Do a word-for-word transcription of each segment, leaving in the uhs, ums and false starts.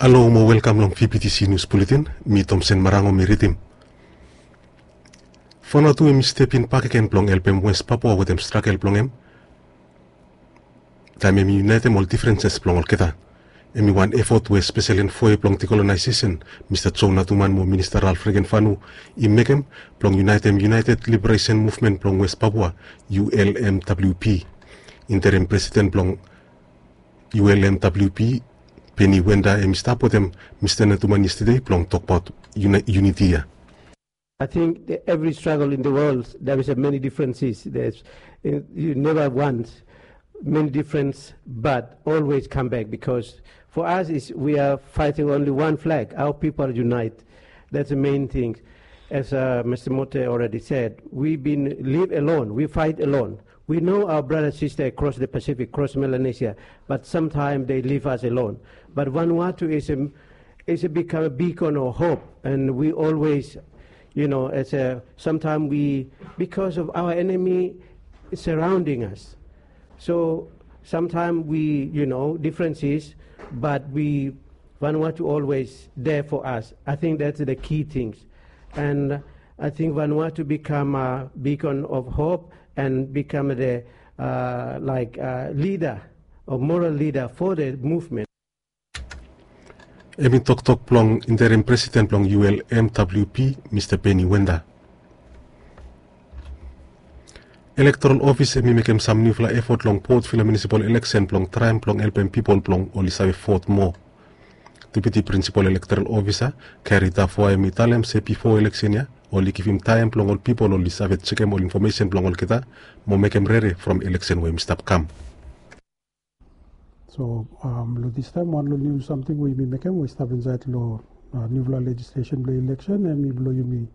Halo mo welkam long V B T C News Bulletin. Mi Tomsen Marango mi ridim. Vanuatu hemi step in bakegen blong helpem West Papua wetem stragel blong hem taem hemi unitem ol difrenses blong olgeta. Hemi wan efot we spesel envoe blong dekolonaiseson Mista Joe Natuman mo Minista Ralph Regenvanu i mekem blong unitem United Liberation Movement blong West Papua, U L M W P. Interim presiden blong U L M W P, Benny Wenda, hemi stap wetem Mista Natuman yestede blong tokbaot uniti ya. I think that every struggle in the world, there is a many differences. There's, uh, you never want many difference, but always come back, because for us, is we are fighting only one flag. Our people unite. That's the main thing. As uh, Mister Mote already said, we've been live alone. We fight alone. We know our brother sister across the Pacific, across Melanesia, but sometimes they leave us alone. But Vanuatu is a, is a become a beacon of hope, and we always, you know, as a sometimes we, because of our enemy surrounding us, so sometimes we, you know, differences, but we, Vanuatu always there for us. I think that's the key things. And I think Vanuatu become a beacon of hope and become the, uh, like, uh, leader, a moral leader for the movement. Hemi toktok blong interim presiden blong U L M W P, Mista Benny Wenda. Elektoral Ofis hemi mekem sam niufala efot long Port Vila Munisipal Eleksen blong traem blong helpem pipol blong oli save vot moa. Deputi Prinsipal Elektoral Ofisa Gary Tafua hemi talem se bifo eleksen ya oli givim taem blong ol pipol oli save jekem ol infomesen blong olgeta mo mekem rere from eleksen we hemi stap kam. So, um, long distaem wan long niu samting we yumi mekem we i stap insaed long, uh, niufala lejislesen blong eleksen, hemi blong yumi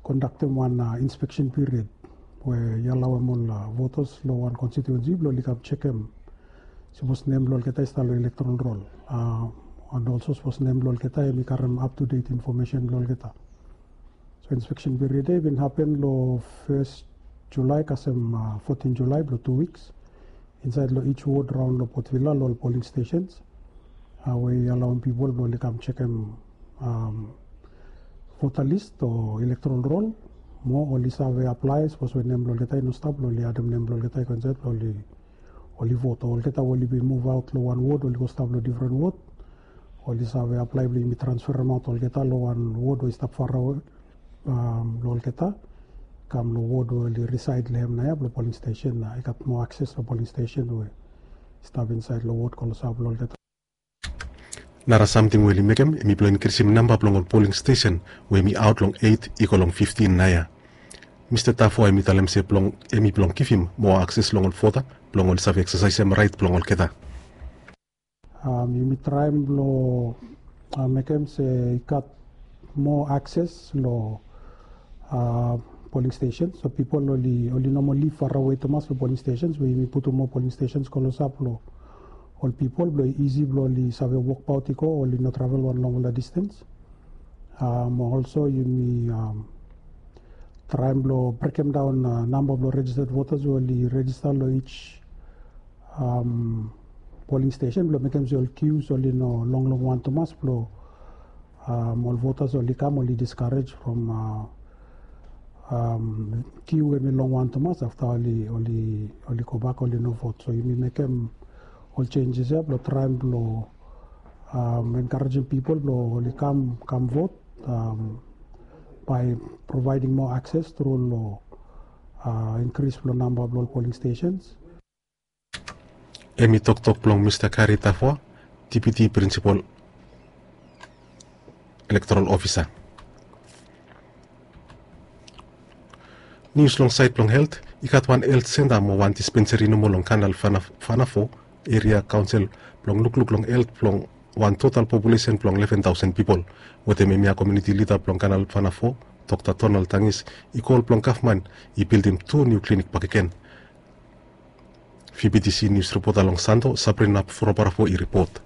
kondaktem wan, uh, inspeksen period we i alaoem ol, uh, votas long wan konstituensi blong oli kam jekem sapos nem blong olgeta i stap long elektoral rol, uh, and also sapos nem blong olgeta hemi karem up to date infomesen blong olgeta. So inspeksen period ya i bin hapen long fes Julae kasem, uh, fotin Julae blong tu wiks insaed long each ward raon long Port Vila long ol polling stations, uh, we i alaoem pipol blong oli kam jekem, um, vota list o elektoral rol mo oli save aplae sapos we nem blong olgeta i no stap blong oli adem nem blong olgeta i go insaed blong oli, oli vot. O olgeta we oli bin muvaot long wan ward oli go stap long difren ward, oli save aplae blong yumi transferemaot olgeta long wan ward we i stap farawe, um, long olgeta, kam long ward we oli risaed long hem naoia blong polling stesen, uh, i gat moa akses long polling stesen we i stap insaed long ward klosap long olgeta. Nara samting we oli mekem hemi blong inkrisim namba blong ol polling stesen we hemi aot long eit i go long fiftin naoia. Mista Tafua hemi talem se blong, hemi blong givim moa akses long ol vota blong oli save eksasaesem raet blong olgeta. Um, yumi traem blong, uh, mekem se i gat moa akses long, uh, polling stations. So pipol oli, oli no moa liv farawe tumas long polling stations, we yumi putum moa polling stations klosap long ol pipol blong i isi blong oli save wokbaot i go, oli no travel wan longfala distance. Um, also yumi, um, traem blong brekemdaon, uh, namba blong registered voters we oli rejista long each, um, polling station blong mekem se ol queues oli no longlong wan tumas blong, um, ol voters oli kam oli discourage from, uh, um, queue hemi long wan tumas afta oli, oli, oli gobak oli no vot. So yumi mekem ol changes ya blong traem blong, um, encouraging pipol blong oli kam, kam vot, um, by providing more access through long, uh, increase long namba blong ol polling stations. Hemi toktok blong Mista Gary Tafua, Deputi Prinsipal Elektoral Ofisa. Nius long saed blong helt, i gat wan helt senta mo wan dispenseri nomo long Kanal Fana-, Fanafo Eria Kaonsel blong lukluk long helt blong wan total populesen blong leven taosen pipol. Wetem hemia komuniti lida blong Kanal Fanafo, Dokta Donald Tangis, i kol blong gavman i bildim tu niu klinik bakegen. V B T C nius ripota long Santo, Sabrina Frobarafo i ripot.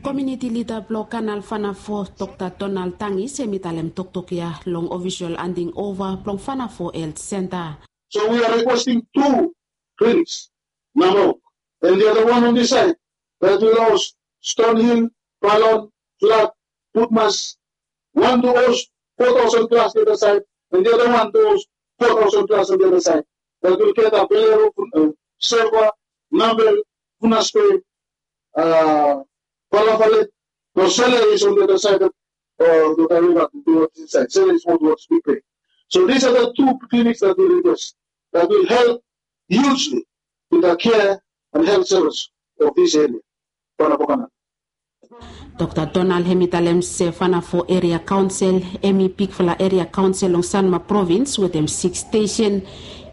Komuniti lida blong Kanal Fanafo, Dokta Donald Tangis, hemi talem toktok ya long ofisol handing ova blong Fanafo Helt Senta. So we are requesting two clinics. Namo, And the other one on this side, that will house Stonehill, Balon, Flat, Putmas, one to house four thousand plus the other side, and the other one to house four thousand plus on the other side. That will get a Valero, uh, Serva, Nambel, Funaspe, uh, Balafale, no, Sele is on the other side of, uh, the Kariba, towards this side. Sele is more towards Big Bay. So these are the two clinics that we request that will help hugely with the care and health service of this area. Pana Pokana. Dokta Donald hemi talem se Fanafo Eria Kaonsel hemi bigfala eria kaonsel long Sanma Provins wetem siks stesen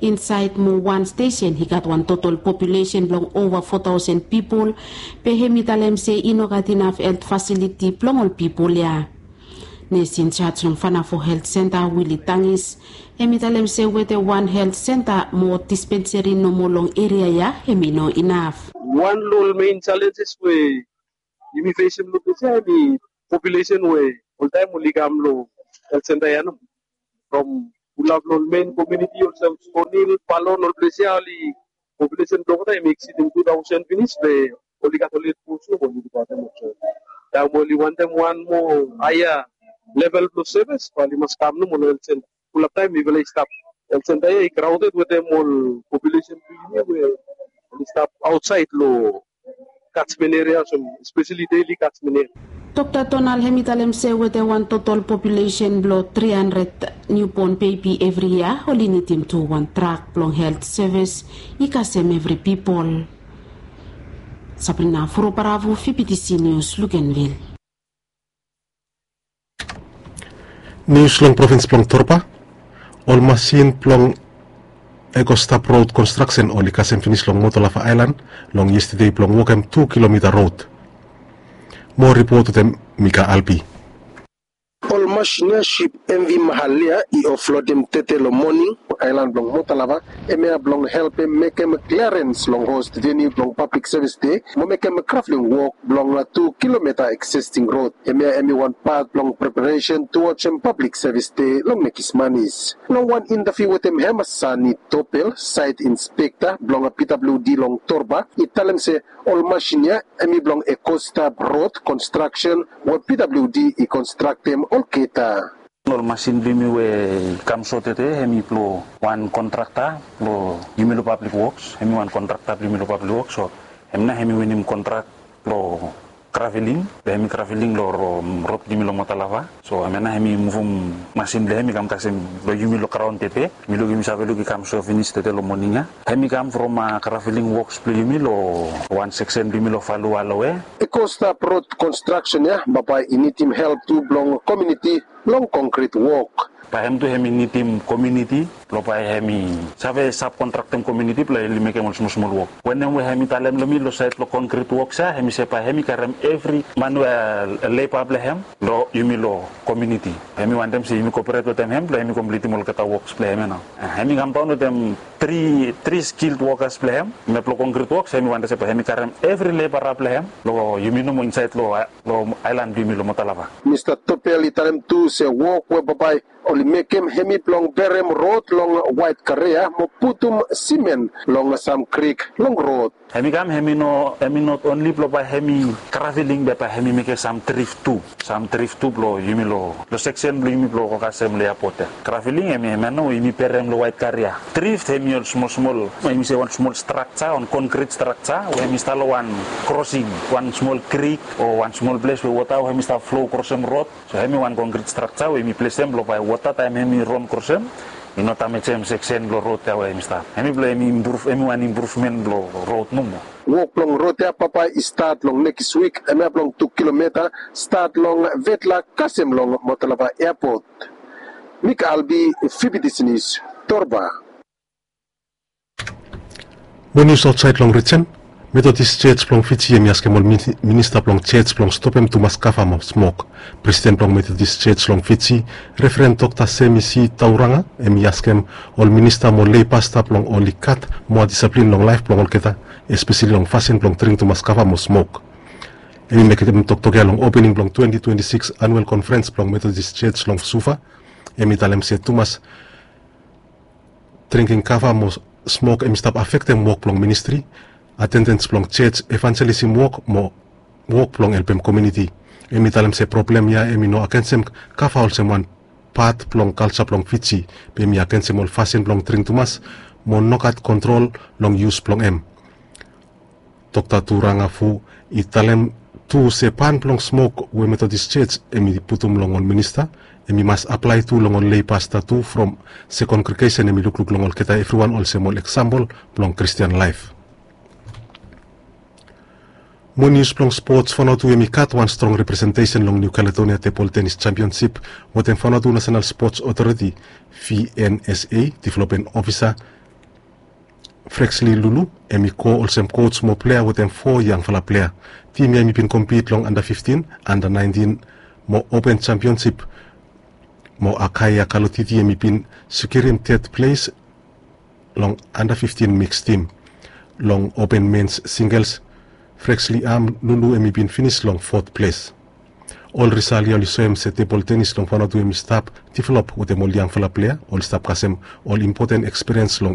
insaed mo wan stesen i gat wan totol populesen blong ova fo taosen pipol. Be hemi talem se i no gat inaf helt fasiliti blong ol pipol ya. Nes injaj long Fanafo Helt Senta Wili Tangis hemi talem se wetem wan helt senta mo dispenseri nomo long eria ya hemi no inaf. Wan long ol mein jalenjes we yumi fesem long ples ya hemi populesen we oltaem oli kam long helt senta ya nomo. From fulap long ol mein komuniti olsem Stonil, Palon, ol ples ya oli populesen blong oltaem hemi eksidim tu taosen finis be oli gat oli hed pos nomo oli lukaotem olsem taem oli wantem wan moa haea level blong sevis bae oli mas kam nomo long helt senta. Fulap taem mifala i stap helt senta ya i kraoded wetem ol populesen blong yumi we oli stap aotsaed long catchment area olsem espeseli daily catchment area. Dokta Donald hemi talem se wetem wan totol populesen blong tri handred niubon bebi evri yia oli nidim tu wan trak blong helt sevis i kasem evri pipol. Sabrina Furobaravu, Fibitisi Nius, Lukenvil. Nius long provins blong Torba. Ol masin blong Ekostap Rod Konstraksen oli kasem finis long Motolava Aelan long yestede blong wokem tu kilomita rod. Moa ripot wetem Mika Albi. Ol masin ya sip M V Mahalia i oflodem tete long moning long aelan blong Motolava, hemia blong helpem mekem kliarens long host veniu blong pablik sevis de mo mekem graveling wok blong tu kilomita eksisting rod. Hemia hemi wan pat blong preparesen tu wajem pablik sevis de long nekis manis. Long wan intaviu wetem hem, Sani Topel, saet inspekta blong P W D long Torba, i talem se ol masin ya hemi blong Ekostap Rod Konstraksen we P W D i konstraktem olgeta. Ol masin blong yumi we i kam so tede hemi blong wan kontrakta blong yumi long pablik woks, hemi wan kontrakta blong yumi long pablik woks, so hem nao hemi winim kontrak blong graveling, blong hemi graveling long ro-, rod blong yumi long Motolava. So hemia nao hemi muvum masin blong hem i kam kasem long yumi long graon tede. Mi luk, yumi save luk i kam so finis tede long moning ya. Hemi kam from, a, graveling woks blong yumi long wan seksen blong yumi long Falu Aloe. Ekostap Rod Konstraksen ya bambae i nidim help tu blong komuniti long konkrit wok. Bae hem tu hemi nidim komuniti blong bae hemi save sabkontraktem komuniti blong oli mekem ol smol smol wok. Wanem we hemi talem long mi long saed blong konkrit woks ya, hemi se bae hemi karem evri man we, a, leba blong hem long yumi long komuniti. Hemi wantem se yumi koperate wetem hem blong hemi komplitim olgeta woks blong hem ya nao. A, hemi kamdaon wetem tri, tri skilled wokas blong hem. Hemia blong konkrit woks, hemi wantem se bae hemi karem evri lebara blong hem long yumi nomo insaed long, a, long aelan blong yumi long Motolava. Mista Topel i talem tu se wok we bambae oli mekem hemi blong berem rod long waet karea mo putum simen long sam krik long rod. Hemi kam, hemi no, hemi not onli blong bae hemi graveling be bae hemi mekem sam drif tu. Sam drif tu blong yumi long, long seksen blong yumi blong go kasem long eapot ya. Graveling hemi, hemia nao we yumi berem long waet karea. Drif hemi ol smol smol, hemi se wan smol strakja, wan konkrit strakja we hemi stap long wan krosing, wan smol krik o wan smol ples we wota we hemi stap flo krosem rod. So hemi wan konkrit strakja we yumi plesem blong bae wota taem hemi ron krosem i no damejem seksen blong rod ya we hemi stap. Hemi blong hemi impruv, hemi wan impruvmen blong rod nomo. Wok blong rod ya bambae i stat long nekis wik, hemia blong tu kilomita, stat long Vetla kasem long Motolava eapot. Mika Albi, Fibitisi Nius, Torba. Mo nius aotsaed long rijen. Methodist Church blong Fiji hemi askem ol mini-, minista blong church blong stopem tumas kava mo smok. Presiden blong Methodist Church long Fiji, Reverend Dokta Semisi Tauranga, hemi askem ol minista mo lei pasta blong oli gat moa disaplin long laef blong olgeta, espeseli long fasin blong dring tumas kava mo smok. Hemi mekem toktok ya long opening blong twenti twenti sikis anuel konferens blong Methodist Church long Suva. Hemi talem se tumas dringking kava mo smok hemi stap afektem wok blong ministri. Atendens blong jej evanjelisim wok mo wok blong helpem komiuniti. Em i talem se problem ya em i no agensem kava olsem wan pat blong kalja blong Fiji, be em i agensem ol fasin blong dring tumas mo nogat kontrol long yus blong em. Dokta Turanga Fu i talem tu se ban blong smok we Methodist Church em i putum long ol minista, em i mas aplae tu long ol lei pasta tu from se kongregesen em i lukluk long olgeta evriwan olsem ol eksampol blong Kristian laef. Mo nius blong spots, Vanuatu em i gat wan strong representesen long New Caledonia tebol tenis jampionsip wetem Vanuatu National Spots Authority, V N S A, development officer Frexley Lulu em i go olsem coach mo plea wetem fo yangfala plea. Tim ya em i bin kompit long anda fiftin, anda naentin mo open jampionsip. Mo Akaya Kalotiti em i bin sekirim ted ples long anda fiftin miks tim. Long open mens singels, Frexley Am Lulu em i bin finis long fot ples. Ol risal ya oli soem se tebol tenis long Vanuatu em i stap develop wetem ol yangfala plea, oli stap kasem ol impoten ekspiriens long